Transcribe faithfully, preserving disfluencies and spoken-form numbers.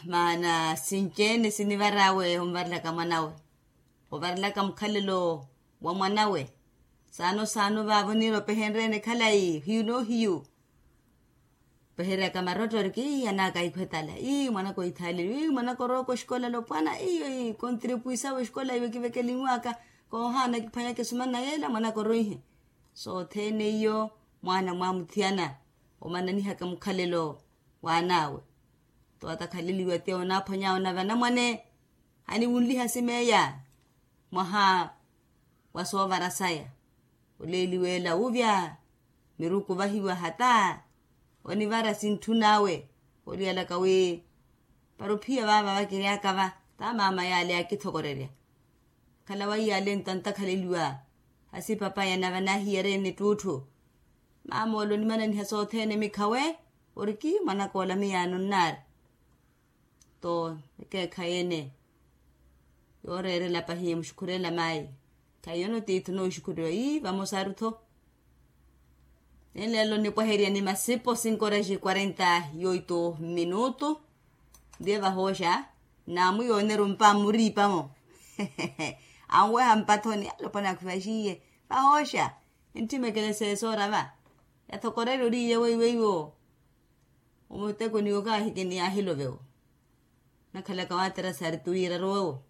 Maana sinci-ene sinivar'awe onvarelaka mwanawe, ovarelaka mukhalelo wa mwanawe. Saano saano vaavo niira opehenrye-ene khalayi hiyu n'ohiyu. Opeheryaka marotto oriki ii an'aka ahikhwetala ii mwanaka oithaaleliwa ii mwanaka orowaka oxikola lopwana ii kontripuisawe oxikola iwe kivekelinwaka. Koohaana kiphwanyaka esumana yeela mwanaka oroihe. Sothene iyo mwaana mwamuthiyana omananihaka mukhalelo w'an'awe. Tootakhaleliwa ti onaaphwany'awe na vanamwane aniwunliha simeeya mwaha wa soovara saya. Oleeliwa ela wuvya miruku ovahiwa hata onivara sintthun'awe. Oliyalaka wi para ophiya vaava vakiryaka va ta maama yale yaakithokorerya. Khala waiyale ntantakhaleliwa hasi papaya na vanahiyari-ene ttuutthu. Maama ole onimananiha sothene mikhawe oriki mwanaka ola miyaano nnaari. Too ekeekhayi-ene yooreerela pahi muxukhurela mayi. Khayi yono tiithi onooxukhuriwa ii vamosaru-tho. Nenleelo nipwaherya ni masipo cinco horas e quarenta e oito minutu. Ndiye vahooxa naamwiyooneri ompa mmuriipa-mo. Anweha mpathoni alopwana akhwivaxiye vahooxa. Entthimekele seesoora va yathokorerya oriiye weiweiwo. Omutekoni okahikini yaahilovewo nakhalaka waaterasari tuwiiraru wewo.